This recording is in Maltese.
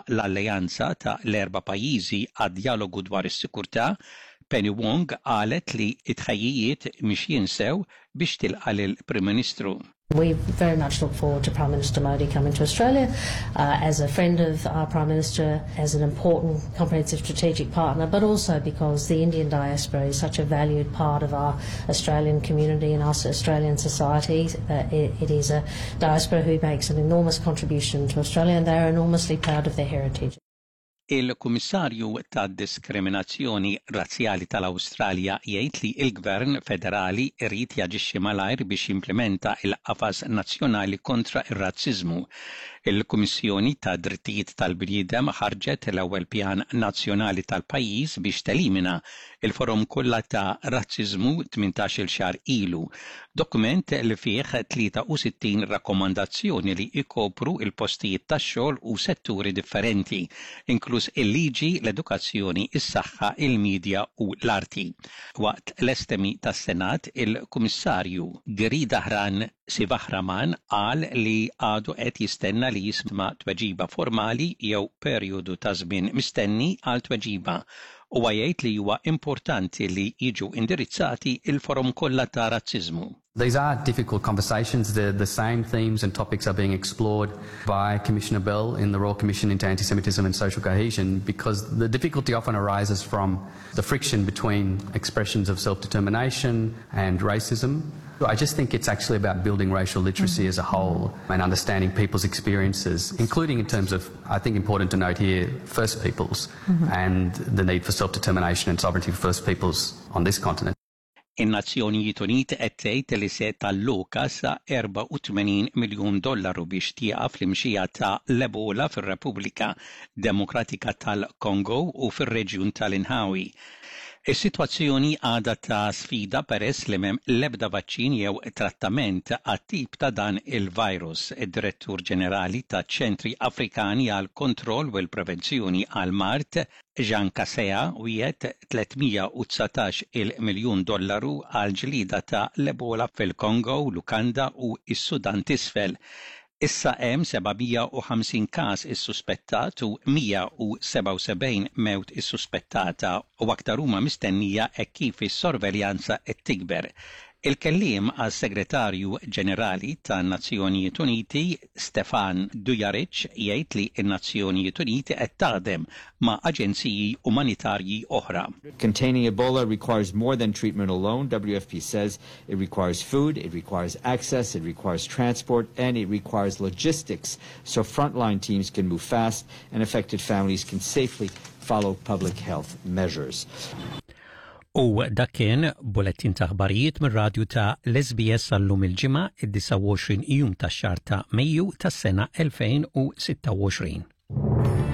l-Alleanza ta' l-Erba' Pajjiżi għad-Djalogu dwar is-Sikurtà, Penny Wong qalet li t-tħejjijiet mixjin sew biex tilqa' lill-Prim Ministru. We very much look forward to Prime Minister Modi coming to Australia uh, as a friend of our Prime Minister, as an important comprehensive strategic partner, but also because the Indian diaspora is such a valued part of our Australian community and our Australian society. Uh, it, it is a diaspora who makes an enormous contribution to Australia and they are enormously proud of their heritage. Il-Kummissarju tad-Diskriminazzjoni Razzjali tal-Awstralja jgħid li l-Gvern Federali jrid jaġixxi malajr biex jimplimenta l-Qafas Nazzjonali kontra r-Razziżmu. Il-Kummissjoni tad-Drittijiet tal-Bniedem ħarġet l-ewwel pjan nazzjonali tal-pajjiż biex telimina l-forom kollha ta' razziżmu 18-il xahar ilu, dokument li fih 63 rakkomandazzjoni li jkopru l-postijiet tax-xogħol u setturi differenti, inkluż il-liġi, l-edukazzjoni, is-saħħa, il-midja u l-arti. Waqt l-estemi tas-Senat, il-Kummissarju Giridharan Sivaraman qal li għadu qed jistenna li jisma' tweġiba formali jew perjodu ta' żmien mistenni għal tweġiba. Huwa jgħid li huwa importanti li jiġu indirizzati l-forom kollha ta' razziżmu. These are difficult conversations. The, the same themes and topics are being explored by Commissioner Bell in the Royal Commission into Anti-Semitism and Social Cohesion because the difficulty often arises from the friction between expressions of self-determination and racism. I just think it's actually about building racial literacy mm -hmm. as a whole and understanding people's experiences, including in terms of, I think important to note here, First Peoples mm -hmm. and the need for self-determination and sovereignty for First Peoples on this continent. In-Nazzjonijiet Uniti qed tgħid li se talloka sa 84 miljun dollaru biex tieqaf l-imxija ta' l-Ebola fir-Repubblika Demokratika tal-Kongo u fir-reġjun tal-inħawi. Is-sitwazzjoni għadha ta' sfida peress li m'hemm l-ebda vaċċin jew trattament għat-tip ta' dan il-virus. Id-Direttur Ġenerali taċ-Ċentri Afrikani għall-Kontroll u l-Prevenzjoni għall-Mard, Jean Kaseya, wiegħed 319 il miljun dollaru għall-ġlieda ta' l-Ebola fil-Kongo, l-Uganda u s-Sudan t'Isfel. Issa hemm 750 każ issuspettat u 177 mewt issuspettata u aktar huma mistennija hekk kif is-sorveljanza qed tikber. Il-kelliem għas-Segretarju Ġenerali tan-Nazzjonijiet Uniti, Stephane Dujarric, jgħid li n-Nazzjonijiet Uniti qed taħdem ma' aġenziji umanitarji oħra. Containing Ebola requires more than treatment alone, WFP says. It requires food, it requires access, it requires transport, and it requires logistics so frontline teams can move fast and affected families can safely follow public health measures. U dak kien bulettin ta' aħbarijiet mir-radju ta' l-SBS għallum il-ġimgħa id-29 jum tax-xahar ta' Mejju tas-sena 2026.